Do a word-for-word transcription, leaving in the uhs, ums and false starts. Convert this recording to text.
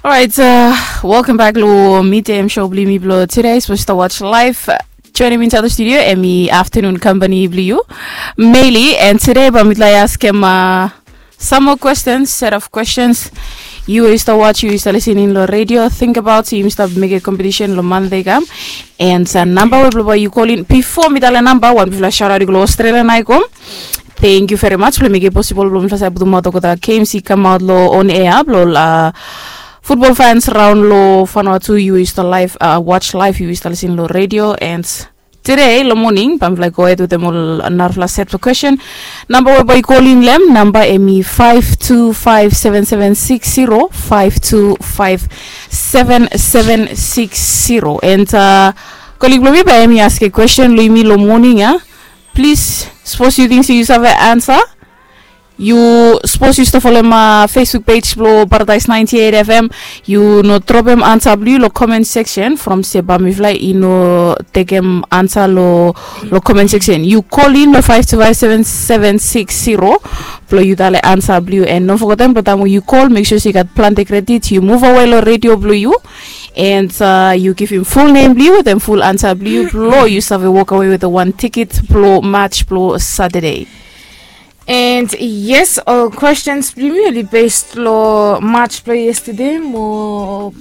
Orait, welcome back lo Meet Em Show blo yumi blo today. Sipos yu stap watch live, joining me inside the studio, em i afternoon company blo yu, Meili, and today ba mitla i askem some more questions, set of questions. Yu we yu stap watch, yu we yu stap listening lo radio, think about yumi stap mekem competition lo Monday kam. And namba we blo ba yu calling bifo mi talem namba wan, bifo la shout out i go lo Australia na i kom. Thank you very much blo mekem possible blo mifla save putumaot olgeta games i kamaot lo on air blo la football fans raon lo Vanuatu, yu we yu stap live, watch live, yu we yu stap listening lo radio. And today lo morning ba mifla i go ahead wetem ol narafala set of question. Namba we ba yu calling lo hem, namba em i five two five seven seven six zero, five two five seven seven six zero. And colleague blo mi ba em i askem question lo yumi lo morning ya. Plis, sipos yu ting se yu save ansa, yu sipos yu stap folem Facebook page blo Paradise ninety eight F M, yu no dropem ansa blo yu lo comment section from se ba mifla i no tekem ansa lo lo comment section. Yu calling lo five two five seven seven six zero blo yu talem ansa blo yu. And no fogetem blo taem we yu call, mek sua se yu gat plante credit, yu move away lo radio blo yu, and yu givim full name blo yu wetem full ansa blo yu blo yu save walk away wetem wan ticket blo match blo Saturday. And yes, ol questions blo yumi oli based lo match blo yesterday mo